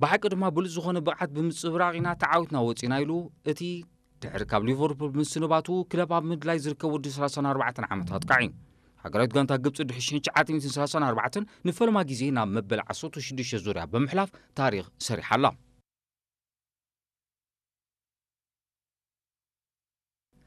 ብሓቂ ድማ ብሉጽ ዝኾነ ብቕዓት ብምጽብራቕ ኢና ተዓዊትና ወጺና ኢሉ እቲ ድሕሪ ካብ ሊቨርፑል ምስንባቱ ክለብ ኣብ ምድላይ ዝርከብ ወዲ ሰላሳን ኣርባዕተን ዓመት ኣጥቃዒ። ሃገራዊት ጋንታ ግብጺ ድሕሪ ሽሕን ትሽዓተ ሚእትን ሰላሳን ኣርባዕተን ንፈለማ ግዜ ናብ መበል ዓሰርተ ሽዱሽተ ዙርያ ብምሕላፍ ታሪኽ ሰሪሓ ኣላ።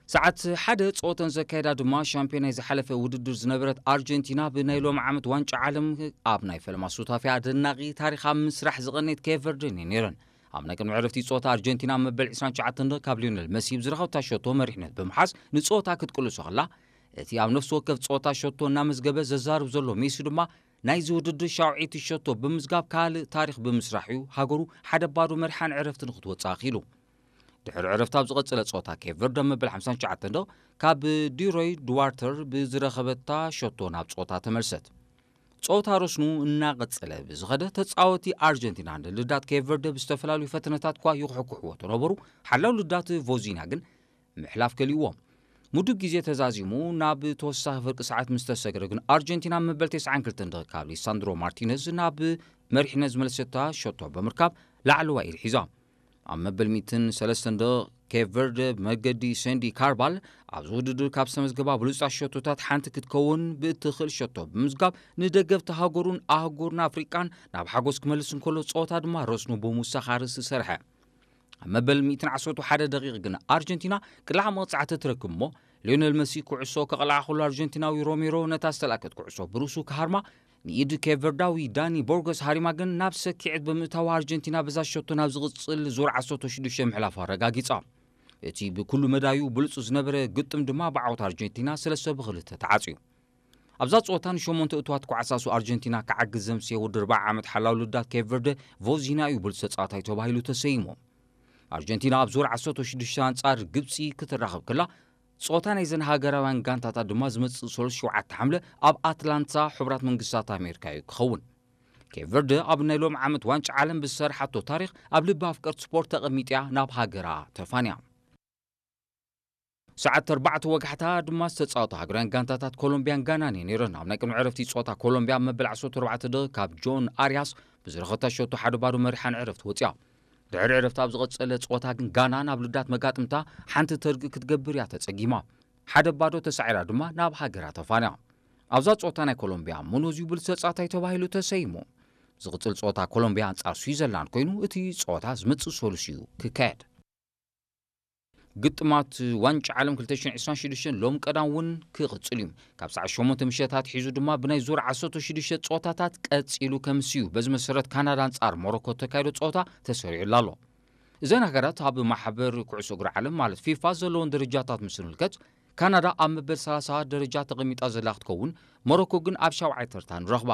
ሰዓት ሓደ ጸወተን ዘካየዳ ድማ ሻምፒዮን ናይ ዝሓለፈ ውድድር ዝነበረት ኣርጀንቲና ብናይ ሎሚ ዓመት ዋንጫ ዓለም ኣብ ናይ ፈለማ ሱታፊ ኣደናቒ ታሪኻ ምስራሕ ዝቐነየት ኬፕ ቨርደን እየን ነይረን። ኣብ ናይ ቅድሚ ዕረፍቲ ጸወታ ኣርጀንቲና መበል ዕስራን ትሽዓተን ካብ ሊዮነል መሲ ብዝረኸብታ ሸቶ መሪሕነት ብምሓዝ ንጸወታ ክትቅልሶ ከላ፣ እቲ ኣብ ነፍሲ ወከፍ ጸወታ ሸቶ እናመዝገበ ዘዛርብ ዘሎ ሜሲ ድማ ናይዚ ውድድር ሻውዒቲ ሸቶ ብምዝጋብ ካልእ ታሪኽ ብምስራሕ እዩ ሃገሩ ሓደ ባዶ መሪሓን ዕረፍቲ ንክትወጽእ ኣኽኢሉ። ድሕሪ ዕረፍቲ ኣብ ዝቐጸለ ጸወታ ኬፕ ቨርደ መበል ሓምሳን ትሽዓተን ካብ ዲሮይ ድዋርተር ብዝረኸበታ ሸቶ ናብ ጸወታ ተመልሰት። ጸወታ ረስኑ እናቐጸለ ብዝኸደ ተጻወቲ ኣርጀንቲና ንልዳት ኬፕ ቨርደ ብዝተፈላለዩ ፈተነታት እኳ ይኹሕኩሕዎ ተነበሩ፣ ሓላው ልዳት ቮዚና ግን ምሕላፍ ከሊእዎም። ምዱብ ግዜ ተዛዚሙ ናብ ተወሳኺ ፍርቂ ሰዓት ምስ ተሰግረ ግን ኣርጀንቲና መበል ተስዓን ክልተን ደቂቕ ካብ ሊሳንድሮ ማርቲነዝ ናብ መሪሕነት ዝመለሰታ ሸቶ ብምርካብ ላዕለዋይ ኢድ ሒዛ። ኣብ መበል ሚእትን ሰለስተን ደቂቕ ኬፕ ቨርደ ብመገዲ ሰንዲ ካርባል ኣብዚ ውድድር ካብ ዝተመዝገባ ብሉጻት ሸቶታት ሓንቲ ክትከውን ብእትኽእል ሸቶ ብምዝጋብ ንደገፍቲ ሃገሩን ኣህጉርን ኣፍሪቃን ናብ ሓጎስ ክመልስ እንከሎ ጸወታ ድማ ረስኑ ብምውሳኽ ኣርእስቲ ሰርሐ። ኣብ መበል ሚእትን ዓሰርተ ሓደ ደቂቕ ግን ኣርጀንቲና ቅላዕ መቕጻዕቲ ትረክብ እሞ ሊዮነል መሲ ኩዕሶ ከቕልዓ ከሎ ኣርጀንቲናዊ ሮሜሮ ነታ ዝተላእከት ኩዕሶ ብርእሱ ክሃርማ ንኢድ ኬፕ ቨርዳዊ ዳኒ ቦርገስ ሃሪማ ግን ናብ ሰኪዐት ብምእታዋ ኣርጀንቲና በዛ ሸቶ ናብ ዝቕጽል ዙር ዓሰርተ ሽዱሽተ ምሕላፋ ኣረጋጊጻ። እቲ ብኩሉ መዳዩ ብሉጽ ዝነበረ ግጥም ድማ ብዓወት ኣርጀንቲና ሰለስተ ብኽልተ ተዓጽዩ። ኣብዛ ጸወታ ንሸሞንተ እትዋት ክዓሳሱ ኣርጀንቲና ክዓግዝ ዘምስየ ወዲ ኣርብዓ ዓመት ሓላው ልዳት ኬፕ ቨርደ ቮዚና እዩ ብሉጽ ተጻዋታይ ተባሂሉ ተሰይሙ። ኣርጀንቲና ኣብ ዙር ዓሰርተ ሽዱሽተ ኣንጻር ግብጺ ክትራኸብ ከላ፣ ጸወታ ናይዘን ሃገራውያን ጋንታታት ድማ ዝመጽእ ሰሉስ ሸውዓተ ሓምለ ኣብ ኣትላንታ ሕቡራት መንግስታት ኣሜሪካ እዩ ክኸውን። ኬፕ ቨርደ ኣብ ናይ ሎም ዓመት ዋንጫ ዓለም ብዝሰርሓቶ ታሪኽ ኣብ ልቢ ኣፍቀርቲ ስፖርት ተቐሚጥያ ናብ ሃገራ ተፋንያ። ሰዓት ኣርባዕተ ወጋሕታ ድማ ዝተጻወታ ሃገራውያን ጋንታታት ኮሎምቢያን ጋናን እየን ነይረን። ኣብ ናይ ቅድሚ ዕረፍቲ ጸወታ ኮሎምቢያ ኣብ መበል ዓሰርተ ኣርባዕተ ደቂቕ ካብ ጆን ኣርያስ ብዝረኸታ ሸቶ ሓደ ባዶ መሪሓን ዕረፍቲ ወጽያ። ድሕሪ ዕረፍቲ ኣብ ዝቐጸለ ጸወታ ግን ጋና ናብ ልዳት መጋጥምታ ሓንቲ ተርጊ ክትገብር እያ ተጸጊማ። ሓደ ባዶ ተሳዒራ ድማ ናብ ሃገራ ተፋንያ። ኣብዛ ጸወታ ናይ ኮሎምቢያ ሙኖዝ እዩ ብሉጽ ተጻዋታይ ተባሂሉ ተሰይሙ። ዝቕጽል ጸወታ ኮሎምቢያ ኣንጻር ስዊዘርላንድ ኮይኑ እቲ ጸወታ ዝመጽእ ሰሉስ እዩ ክካየድ። ግጥማት ዋንጫ ዓለም ክልተ ሽሕን ዕስራን ሽዱሽተን ሎም ቀዳም እውን ክቕጽል እዩ። ካብ ሰዓት ሸሞንተ ምሸት ኣትሒዙ ድማ ብናይ ዙር ዓሰርተ ሽዱሽተ ጸወታታት ቀጺሉ ከምስ እዩ። በዚ መሰረት ካናዳ ኣንጻር ሞሮኮ ተካይዶ ጸወታ ተሰሪዑላ ኣሎ። እዘን ሃገራት ኣብ ማሕበር ኩዕሶ እግሪ ዓለም ማለት ፊፋ ዘለዎን ደረጃታት ምስ ንምልከት፣ ካናዳ ኣብ መበል ሰላሳ ደረጃ ተቐሚጣ ዘላ ክትከውን፣ ሞሮኮ ግን ኣብ ሻውዓይ ተርታ ንረኽባ።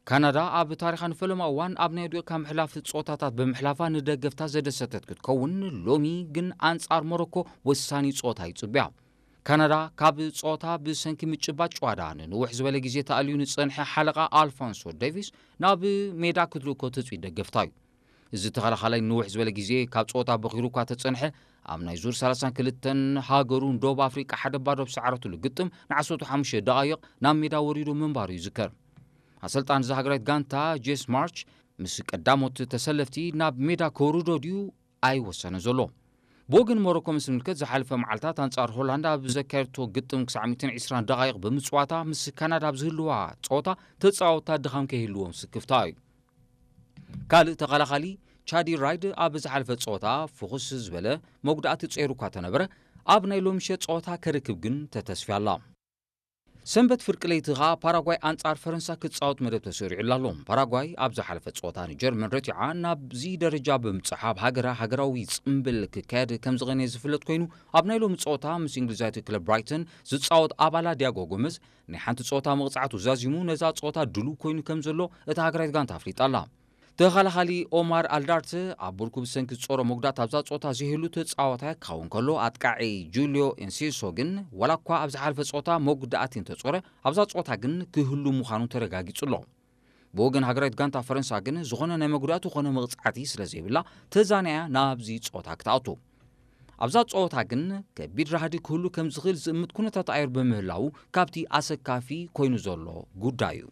ካናዳ ኣብ ታሪኻ ንፈለማ እዋን ኣብ ናይ ዱኤካ ምሕላፍ ጸወታታት ብምሕላፋ ንደገፍታ ዘደሰተት ክትከውን፣ ሎሚ ግን ኣንጻር ሞሮኮ ወሳኒ ጸወታ ይጽብያ። ካናዳ ካብ ጸወታ ብሰንኪ ምጭባጥ ጨዋዳ ንንውሕ ዝበለ ግዜ ተኣልዩ ንጸንሐ ሓለቓ ኣልፎንሶ ዴቪስ ናብ ሜዳ ክትልእኮ ትጽቢት ደገፍታ እዩ። እዚ ተኸላኻላይ ንውሕ ዝበለ ግዜ ካብ ጸወታ በኺሩ እኳ ተጸንሐ፣ ኣብ ናይ ዙር ሰላሳን ክልተን ሃገሩ ንደቡብ ኣፍሪቃ ሓደ ባዶ ብሰዓረትሉ ግጥም ንዓሰርተ ሓሙሽተ ደቓይቕ ናብ ሜዳ ወሪዱ ምንባሩ ይዝከር። ኣሰልጣን እዛ ሃገራዊት ጋንታ ጄስ ማርች ምስ ቀዳሞት ተሰለፍቲ ናብ ሜዳ ከውርዶ ድዩ ኣይወሰነ ዘሎ። ብወገን ሞሮኮ ምስ ንምልከት ዝሓለፈ መዓልታት ኣንጻር ሆላንድ ኣብ ዘካየድቶ ግጥም ክሳዕ ሚእትን ዕስራን ደቓይቕ ብምጽዋታ ምስ ካናዳ ኣብ ዝህልዋ ጸወታ ተጻወታ ድኻም ከይህልዎም ስክፍታ እዩ። ካልእ ተኸላኻሊ ቻዲ ራይድ ኣብ ዝሓለፈ ጸወታ ፍኹስ ዝበለ መጉዳእቲ ጸይሩ እኳ ተነበረ፣ ኣብ ናይ ሎሚ ምሸት ጸወታ ከርክብ ግን ተተስፍያ ኣላ። ሰንበት ፍርቂ ለይቲ ኸኣ ፓራጓይ ኣንጻር ፈረንሳ ክጻወት መደብ ተሰሪዑላ ኣሎ። ፓራጓይ ኣብ ዝሓለፈ ጸወታ ንጀርመን ረቲዓ ናብዚ ደረጃ ብምብጻሓ ኣብ ሃገራ ሃገራዊ ጽምብል ክካየድ ከም ዝቐነየ ዝፍለጥ ኮይኑ፣ ኣብ ናይ ሎሚ ጸወታ ምስ እንግሊዛዊት ክለብ ብራይተን ዝጻወት ኣባላ ዲያጎ ጎመዝ ናይ ሓንቲ ጸወታ መቕጻዕቱ ዛዚሙ ነዛ ጸወታ ድሉው ኮይኑ ከም ዘሎ እታ ሃገራዊት ጋንታ ኣፍሊጣ ኣላ። ተኸላኻሊ ኦማር ኣልዳርት ኣብ ብርኩ ብሰንኪ ዝጾሮ መጉዳእቲ ኣብዛ ጸወታ ዘይህሉ ተጻዋታይ ክኸውን ከሎ፣ ኣጥቃዒ ጁልዮ ኤንሲሶ ግን ዋላ እኳ ኣብ ዝሓለፈ ጸወታ መጉዳእቲ እንተጾረ፣ ኣብዛ ጸወታ ግን ክህሉ ምዃኑ ተረጋጊጹ ኣሎ። ብወገን ሃገራዊት ጋንታ ፈረንሳ ግን ዝኾነ ናይ መጉዳእቲ ኮነ መቕጻዕቲ ስለ ዘይብላ፣ ተዛንያ ናብዚ ጸወታ ክትኣቱ። ኣብዛ ጸወታ ግን ከቢድ ራህዲ ክህሉ ከም ዝኽእል ዝእምት ኩነታት ኣየር ብምህላዉ፣ ካብቲ ኣሰካፊ ኮይኑ ዘሎ ጉዳይ እዩ።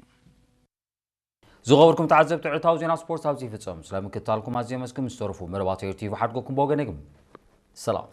ዝኸበርኩም ተዓዘብቲ ዕለታዊ ዜና ስፖርት ኣብዚ ይፍጸም። ስለምክትታልኩም ኣዝየ መስግን። ምስ ተረፉ መደባት ኤር ቲቪ ሓድጎኩም ብወገነይ ግን ሰላም።